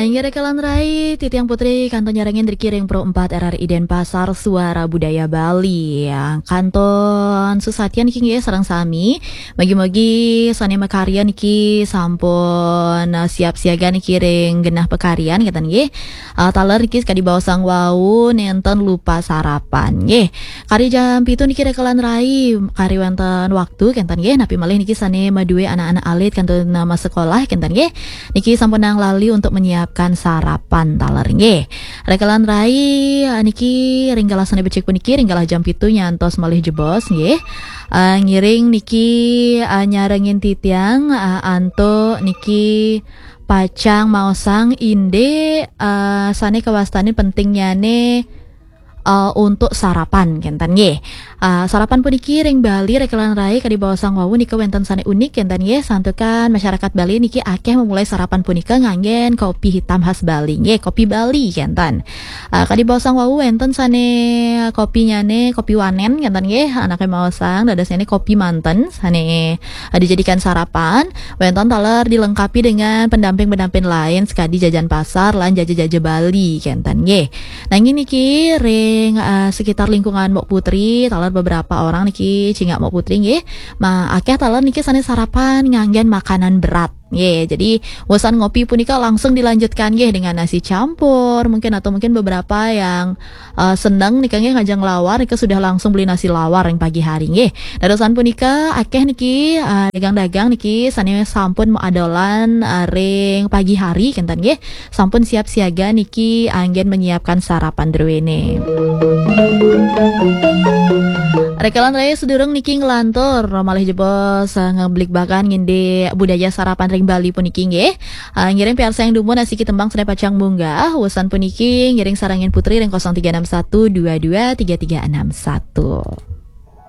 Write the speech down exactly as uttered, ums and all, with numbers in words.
Inggih rekan rai, titiang Putri kantun nyarengin riki ring Pro empat R R I Denpasar, Suara Budaya Bali. Ya, kantun susatia niki nggih sareng sami. Mugi-mugi sane makarya niki sampun, eh, siap siaga niki ring genah pakaryan, ngeten nggih. Eh, taler niki kadi baosang wau nenten lupa sarapan nggih. Kari jam pitu niki rekan rai, kari wenten waktu kenten nggih. Napi malih niki sane madue anak-anak alit kantun, eh, masekolah kenten nggih. Niki sampunang lali untuk menyiapkan sarapan taler nggih. Rekan rai, eh, niki ring galah sane becik puniki, ring galah jam pitu nyantos malih jebos nggih. Eh, ngiring niki, eh, nyarengin titiang, eh, antuk niki pacang maosang indik, eh, sane kawastanin pentingnyane, eh, untuk sarapan kenten nggih. Eh, sarapan puniki ring Bali rekan rai kadi baosang wau nika wenten sane unik kenten nggih, santukan masyarakat Bali niki akeh memulai sarapan punika nganggen kopi hitam khas Bali nggih, kopi Bali kenten. Eh, kadi baosang wau wenten sane kopinyane kopi wanen kenten nggih, anake maosang dadosnyane kopi manten sane, eh, dijadikan sarapan, wenten taler dilengkapi dengan pendamping-pendamping lain sekadi jajan pasar lan jaja-jaja Bali kenten nggih. Nanging niki ring, eh, sekitar lingkungan Mbok Putri, taler beberapa orang niki cingak Mbok Putri nggih. Ma, akeh taler niki sane sarapan nganggen makanan berat. Nggih, jadi wusan ngopi punika langsung dilanjutkan nggih dengan nasi campur mungkin, atau mungkin beberapa yang, eh, seneng nika nggih ngajeng lawar nika sudah langsung beli nasi lawar yang pagi hari nggih. Dadosan punika akeh niki, eh, dagang-dagang niki sane sampun maadolan, eh, ring pagi hari kenten nggih. Sampun siap siaga niki anggen menyiapkan sarapan druene. Rekan rai, sedurung niki nglantur malih jebos, eh, ngeblikbakan ngindik budaya sarapan ring Bali puniki nggih. Eh, ngiring piarsayang dumun asiki tembang sane pacang munggah. Wusan puniki ngiring sarengin Putri ring kosong tiga enam satu dua dua tiga tiga enam satu.